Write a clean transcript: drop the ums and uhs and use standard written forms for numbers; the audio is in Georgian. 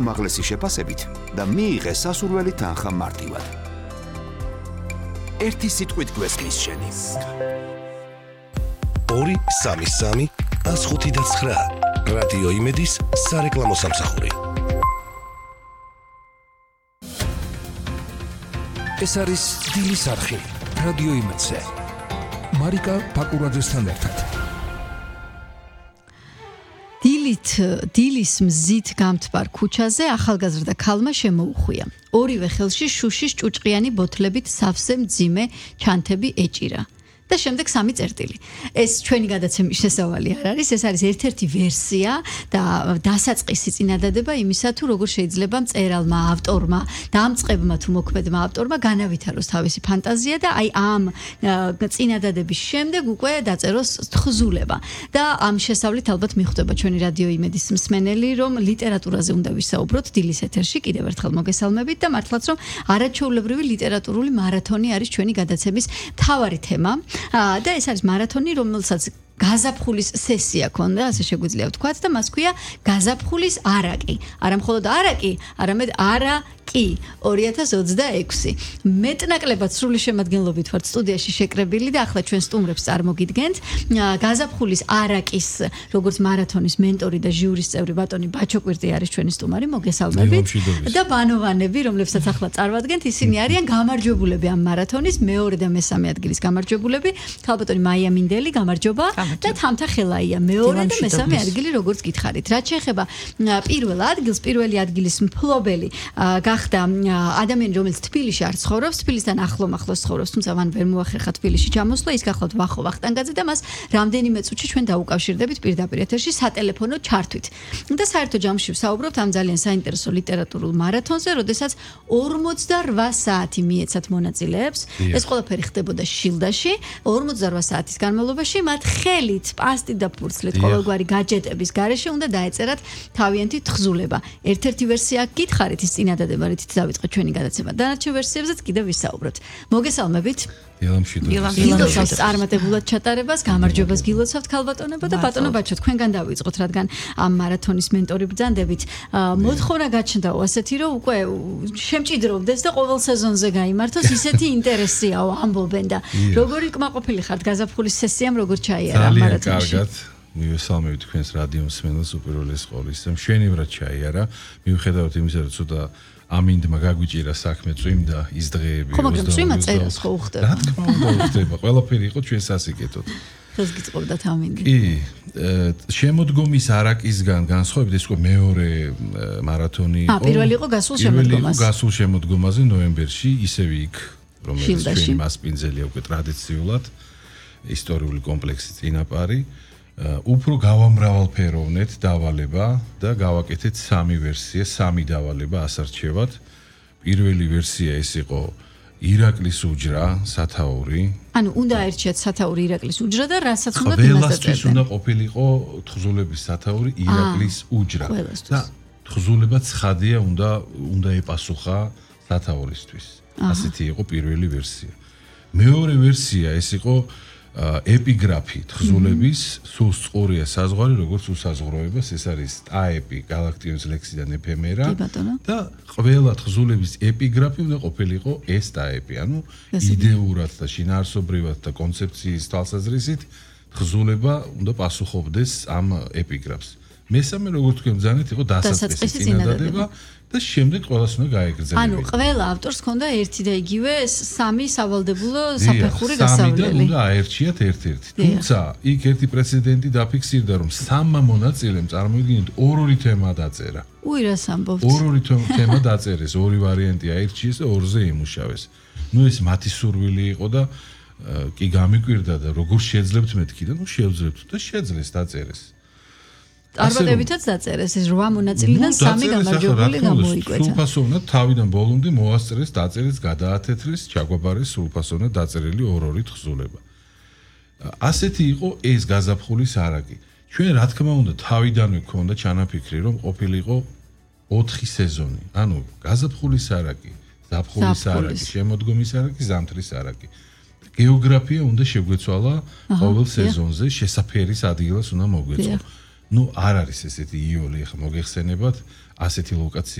უმაღლესი შეფასებით და მიიღე სასურველი თანხა მარტივად. ერთი სიტყვით გვესმის შენი. 2-3-3-105-9 რადიო იმედის სარეკლამო სამსახური. ეს არის დილის არხი რადიო იმედზე. მარიკა ფაკურაძესთან ერთად. დილის მზით გამთბარ ქუჩაზე ახალგაზრდა ქალმა შემოუხვია. ორივე ხელში შუშის ჭუჭყიანი ბოთლებით სავსე მძიმე ჩანთები ეჭირა. და შემდეგ 3 წერტილი. ეს ჩვენი გადაცემის შესავალი არ არის, ეს არის ერთ-ერთი ვერსია და დასაწყისი წინადადება იმისა, თუ როგორ შეიძლება მწერალმა, ავტორმა, დამწყებმა თუ მოქმედმა ავტორმა განავითაროს თავისი ფანტაზია და აი ამ წინადადების შემდეგ უკვე დაწეროს თხზულება. და ამ შესავლით ალბათ მიხვდება ჩვენი რადიო იმედის მსმენელი, რომ ლიტერატურაზე უნდა ვისაუბროთ დილის ეთერში. კიდევ ერთხელ მოგესალმებით და მართლაც რომ არაჩვეულებრივი ლიტერატურული მარათონი არის ჩვენი გადაცემის მთავარი თემა. და ეს არის მარათონი, რომელსაც გაზაფხულის სესია ქონდა, ასე შეგვიძლია ვთქვათ და მას ქვია გაზაფხულის არაკი. არა მხოლოდ არაკი, არამედ არაკი 2026. მეტნაკლებად სრული შემადგენლობით ვართ სტუდიაში შეკრებილი და ახლა ჩვენ სტუმრებს წარმოგიდგენთ. გაზაფხულის არაკის, როგორც მარათონის მენტორი და ჟიურის წევრი ბატონი ბაჩოკვირტი არის ჩვენი სტუმარი, მოგესალმებით. და ბანოვანები, რომლებსაც ახლა წარმოვადგენთ, ისინი არიან გამარჯვებულები ამ მარათონის მეორე და მესამე ადგილის გამარჯვებულები. ქალბატონი მაია მინდელი, გამარჯობა. და თამთა ხელაია მეორე და მესამე ადგილი როგორც გითხარით. რაც შეეხება პირველ ადგილს, პირველი ადგილის მფლობელი გახდა ადამიანი, რომელიც თბილისში არ ცხოვრობს, თბილისთან ახლოს ცხოვრობს, თუმცა მან ვერ მოახერხა თბილისში ჩამოსვლა, ის გახლავთ ვახო ვახტანგაძე და მას რამდენიმე წუთში ჩვენ დაუკავშირდებით პირდაპირ ეთერში სატელეფონო ჩართვით. და საერთო ჯამში ვსაუბრობთ ამ ძალიან საინტერესო ლიტერატურულ მარათონზე, როდესაც 48 საათი მიეცათ მონაწილეებს. ეს ყველაფერი ხდებოდა შილდაში, 48 საათის განმავლობაში მათ ხელით, პასტით და ფურცლით, ყოველგვარი გაჯეტების გარეშე უნდა დაეწერათ თავიანთი თხზულება. ერთ-ერთი ვერსია გითხარით ის წინადადება, რითიც დავიწყეთ ჩვენი გადაცემა. დანარჩენ ვერსიებზეც კიდევ ვისაუბროთ. მოგესალმებით. გილოცავთ წარმატებულად ჩატარებას, გამარჯვებას გილოცავთ ქალბატონებო და ბატონო ბაჩო, თქვენგან დავიწყოთ, რადგან ამ მარათონის მენტორი ბრძანდებით. მოთხოვნა გაჩნდაო ასეთი, რომ უკვე შემჭიდროვდეს და ყოველ სეზონზე გაიმართოს, ისეთი ინტერესიაო ამბობენ და როგორი კმაყოფილი ხართ გაზაფხულის სესიამ, როგორ ჩაიარა ამ მარათონში? ძალიან კარგად. მივესალმებით თქვენს რადიო მსმენელს უპირველეს ყოვლის. მშვენივრად ჩაიარა, მიუხედავად იმისა, რომ ცოტა ამინდმა გაგვიჭირა საქმე, წვიმდა ის დღეები. ხო, მაგრამ წვიმა წერას ხო უხდება? რა თქმა უნდა უხდება, ყველაფერი იყო ჩვენ სასიკეთოდ. ხელს გიწყობდათ ამინდი. კი, შემოდგომის არაკისგან განსხვავებით ეს უკვე მეორე მარათონი იყო. პირველი იყო გასულ შემოდგომაზე. გასულ შემოდგომაზე ნოემბერში, ისევ იქ, რომელიც ჩვენი მასპინძელია უკვე ტრადიციულად, ისტორიული კომპლექსი წინაპარი. უფრო გავამრავალფეროვნეთ დავალება და გავაკეთეთ 3 ვერსია, 3 დავალება ასარჩევად. პირველი ვერსია ეს იყო ირაკლის უჯრა, სათაური. ანუ უნდა აერჩიათ სათაური ირაკლის უჯრა და რასაც უნდა იმას ყველასთვის დაწერდნენ. უნდა ყოფილიყო თხზულების სათაური ირაკლის უჯრა. და თხზულება ცხადია უნდა ეპასუხა სათაურისთვის. ასეთი იყო პირველი ვერსია. მეორე ვერსია ეს იყო ეპიგრაფი თხზულების, სულ სწორია საზღვარი, როგორც უსაზღვროებას, ეს არის ტაეპი, გალაქტიონის ლექსიდან ეფემერა და ყველა თხზულების ეპიგრაფი უნდა ყოფილიყო ეს ტაეპი, ანუ იდეურად და შინაარსობრივად და კონცეფციის თვალსაზრისით თხზულება უნდა პასუხობდეს ამ ეპიგრაფს. მესამე, როგორც თქვენ ბრძანეთ, იყო დასაწყისი წინადადება და შემდეგ ყველას უნდა გაეგრძელებინა. ანუ ყველა ავტორს ჰქონდა ერთი და იგივე 3 სავალდებულო საფეხური გასავლელი. უნდა აერჩიათ ერთ-ერთი. თუმცა იქ ერთი პრეცედენტი დაფიქსირდა, რომ 3 მონაწილემ წარმოიდგინეთ ორ-ორი თემა დაწერა. უი რას ამბობთ? ორ-ორი თემა დაწერეს, ორი ვარიანტი აირჩიეს და ორზე იმუშავეს. ნუ ეს მათი სურვილი იყო და კი გამიკვირდა და როგორ შეძლებთ მეთქი და ნუ შევძლებთ და შეძლეს დაწერეს. არბადებითაც დაწერეს ეს 8 მონაწილიდან 3 გამარჯვებული გამოიკვეთა. სრულფასოვნად თავიდან ბოლომდე მოასწრეს, დაწერეს, გადაათეთრეს, ჩაგვაბარეს სრულფასოვნად დაწერილი ორ-ორი თხზულება. ასეთი იყო ეს გაზაფხულის არაკი. ჩვენ რა თქმა უნდა თავიდანვე გქონდა ჩანაფიქრი, რომ ყოფილიყო 4 სეზონი. ანუ გაზაფხულის არაკი, ზაფხულის არაკი, შემოდგომის არაკი, ზამთრის არაკი. გეოგრაფია უნდა შეგვეცვალა ყოველ სეზონზე, შესაფერის ადგილას უნდა მოგვეწყო. ნუ არ არის ესეთი იოლი, ახლა მოგეხსენებათ, ასეთი ლოკაცია